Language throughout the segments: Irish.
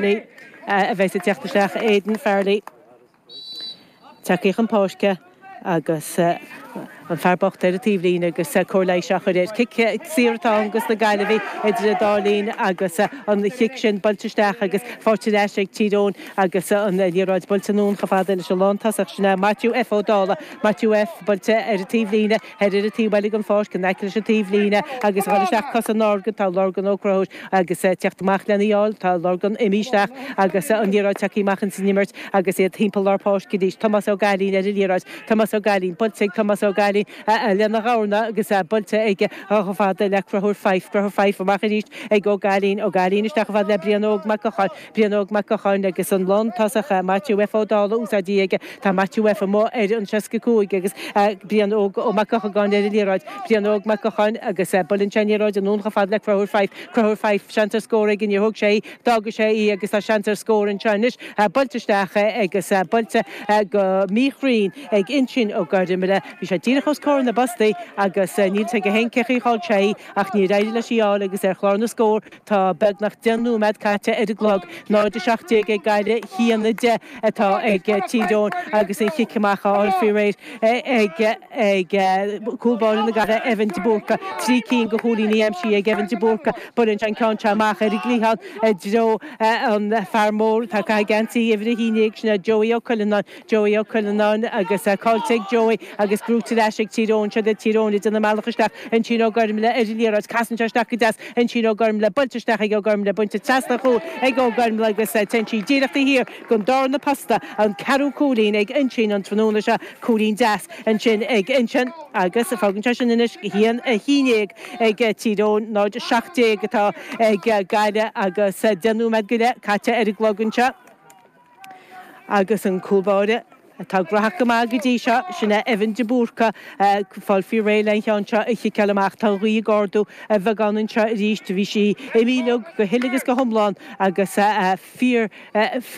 A bheas ag teacht isteach, Aidan Farrelly tagtha chun páirce agus an fear bocht ar an taobhlíne agus cóir leighis á chur air. Cic saor atá ann dos na Gaillimhigh idir an dá linn agus an chic sin buailte isteach agus faighte ar ais ag Tír Eoghain agus an liathróid buailte anonn chomh fada leis an lántosach sin é Maitiú F Ó Dálaigh. Maitiú F buailte ar an taobhlíne thoir ar an taobh eile den pháirc in aice leis an taobhlíne agus ag dul isteach cosa Lorgan tá Lorgan Ó Conchúir Agus teacht amach lena fháil, tá Lorgan imithe isteach agus an liathróid tagtha amach ins an imirt agus iad timpeall lár páirce arís. Tomás Ó Gailín ar an liathróid. Tomás Ó Gailín, buailte ag Tomás Ó Gailín lena dhorna agus buailte aige chomh fada le Conchúr Fyfe. Conchúr Fyfe amach arís ag Ó Gailín. Ó Gailín isteach chomh fada le Brian Óg Mac Gocháin. Brian Óg Mac Gocháin agus an lántosach Maitiú F Ó Dálaigh úsáidte aige. Tá Maitiú F amuigh ar an 65 agus Brian Óg Ó Mac Eochagáin ar an liathróid. Brian Óg Mac Gocháin agus buaileann sé an liathróid anonn chomh fada le Conchúr Fyfe. Conchúr Fyfe, seans ar scór aige, níor thóg sé í, d'fhága sé í agus tá seans ar scór anseo anois. Buailte isteach agus buailte go míchruinn ag Uinseann Ó Gormlaith. Bhí sé díreach os comhair na bpostaí agus níl 's aige féin cén chaoi a chaill sé í ach níor éirigh leis í a fháil agus ar chlár na scór Tá beagnach 10 nóiméad caite ar an gclog, 0-17 ag Gaillimh, 1-10 atá ag Tír Eoghain agus an chic amach á fháil faoi réir ag cúl báire na Gaillimhe, Evan de Búrca. 3 cinn de chúilíní aimsithe ag Evan de Búrca. Buaileann sé an ceann seo amach ar an gcliathán i dtreo an fear mór atá ag caitheamh geansaí uimhir 11, sin é Joey Ó Cuileanáin. Joey Ó Cuileanáin agus caillte ag Joey agus gnóite ar ais ag Tír Eoghain. Siod iad Tír Eoghain ag déanamh a mbealach isteach. Uinseann Ó Gormlaith ar an liathróid. Casann sé isteach go deas. Uinseann Ó Gormlaith buailte isteach ag Ó Gormlaith. Bainte trasna an chúil ag Ó Gormlaith agus téann sí díreach taobh thiar den darna posta. An ceathrú cúilín ag Uinseann an tráthnóna seo. Cúilín deas ansin ag Uinseann agus fágann sé sin anois 1-11 ag Tír Eoghain. 0-17 atá ag Gaillimh agus 10 nóiméad go leith caite ar an gclog anseo. Agus an cúl báire atá graitheach go maith go dtí seo, sin é Evan de Búrca, ag fáil faoi réidh le an cheann seo a chiceáil amach. Tá an ghaoth ag ardú a bheagán anseo arís. Bhí sí imithe uilig go huile agus go hiomlán agus fíor,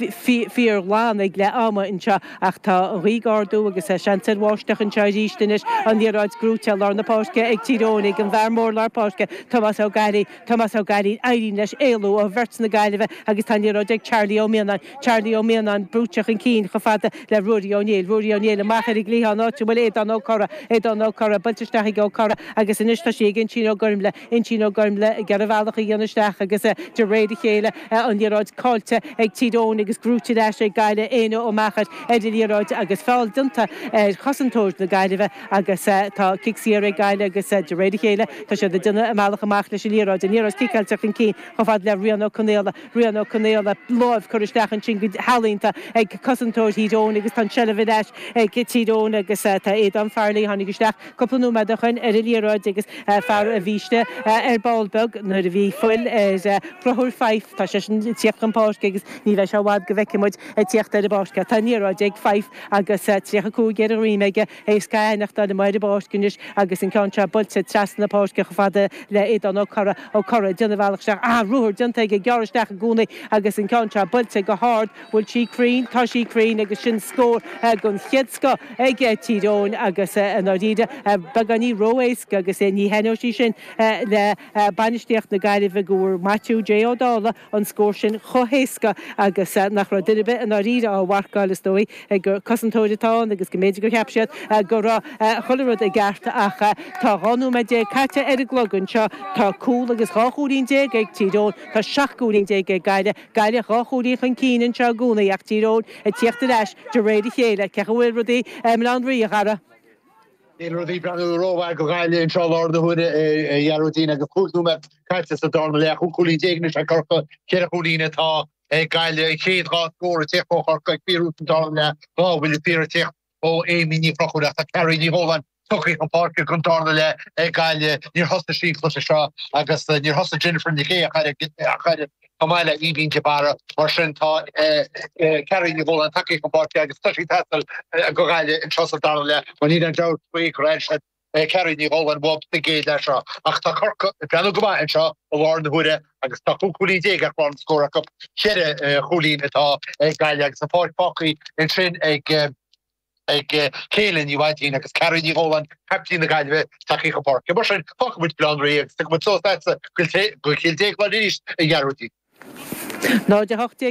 fíorghlan ag leath ama anseo ach tá an ghaoth ag ardú agus seans ar bháisteach anseo arís anois. An liathróid gnóite i lár na páirce ag Tír Eoghain ag an bhfear mór lár páirce, Tomás Ó Gailí. Tomás Ó Gailí, éiríonn leis éalú ó bheirt na Gaillimhe agus tá an liathróid ag Charlie Ó Mianáin. Charlie Ó Mianáin brúite chun cinn chomh fada le Ruairí Ó Néill. Ruairí Ó Néill amach ar an gcliathán áit a bhfuil Aodán Ó Corra. Aodán Ó Corra buailte isteach ag Ó Corra agus anois tá sí ag Uinseann Ó Gormlaith. Uinseann Ó Gormlaith ag iarraidh a bhealach a dhéanamh isteach agus de réir a chéile an liathróid caillte ag Tír Eoghain agus gnóite ar ais ag Gaillimh. Éanna Ó Meachair ar an liathróid agus feall déanta ar chosantóir na Gaillimhe. Agus tá cic saor ag Gaillimh agus de réir a chéile tá siad ag déanamh a mbealach amach leis an liathróid. An liathróid ciceáilte chun cinn chomh fada le Rian Ó Conaola. Rian Ó Conaola, láimh curtha isteach ansin go healaíonta ag cosantóir Thír Eoghain agus tá an tseilbh ar ais ag Tír Eoghain agus tá Aodán Farrelly, tháinig isteach cúpla nóiméad ó shoin ar an liathróid agus fear a bhí istigh ar ball beag nuair a bhí fuil ar Chonchúr Fyfe. Tá seisean ag tíocht chun páirce agus ní bheidh sé i bhfad go bhfeicfidh muid ag tíocht ar an bpáirc é. Tá an liathróid ag Fyfe agus 35 ar a dhroim aige. Éasca a aithneachtáil amuigh ar an bpáirc anois agus an ceann seo buailte trasna na páirce chomh fada le Aodán Ó Corra. Ó Corra ag déanamh a bhealach isteach. Ah, ruathar déanta aige, gearradh isteach i gcónaí agus an ceann seo buailte go hard. Bhfuil sí cruinn? Tá sí cruinn agus sin scór den chéad scoth ag Tír Eoghain agus i ndáiríre beagáinín ró-éasca agus ní thaitneoidh sí sin le bainistíocht na Gaillimhe go bhfuair Maitiú J Ó Dálaigh an scór sin chomh héasca agus nach raibh duine ar bith i ndáiríre á mharcáil, is dóigh gur cosantóir atá ann agus go mb'fhéidir gur cheap siad go raibh chuile rud i gceart ach tá 12 nóiméad caite ar an gclog anseo. Tá cúl agus 12 chúilín ag Tír Eoghain, tá 17 gcúilín ag Gaillimh. Gaillimh 2 chúilín chun cinn anseo i gcónaí ach Tír Eoghain ag tíocht ar ais de réir a chéile. Cén chaoi a bhfuil rudaí i mBaile Átha an Rí, a Dhara? Níl rudaí ag breathnú rómhaith do Ghaillimh anseo i láthair na huaire, a Ghearóidín, agus 5 nóiméad caite sa darna leath. 15 cúilín anois ag Corcaigh, 4 chúilín atá ag Gaillimh. An chéad dhá scór ag tíocht ó Chorcaigh ag fíorthús an darna leath, dhá bhuille saor ag tíocht ó Amy Ní Chonchúir ach tá Carrie Ní Dhóláin tugtha chun páirce don darna leath ag Gaillimh. Níor thosaigh sí an cluiche seo agus níor thosaigh Jennifer Nic Aodha ach oiread. Chomh maith le Aoibhinn de Barra. Mar sin tá Carrie Ní Dhóláin tagtha chun páirce agus tá sí ag teastáil do Ghaillimh anseo sa dara leath mar níl aon dabht faoi gur airigh siad Carrie Ní Dhóláin uathu sa gcéad leath seo. Ach tá Corcaigh ag breathnú go maith anseo i láthair na huaire agus tá 15 cúilín ar chlár na scór acu. Ceithre chúilín atá ag Gaillimh agus an pháirc fágtha ansin ag ag Céilin Ní Mhaidín agus Carrie Ní Dhóláin, caiptín na Gaillimhe, tagtha chun páirce. Mar sin, fágfaidh muid Baile Átha an Rí agus tiocfaidh muid suas leatsa go Cill Déagláin arís, a Ghearóidín. 0-18.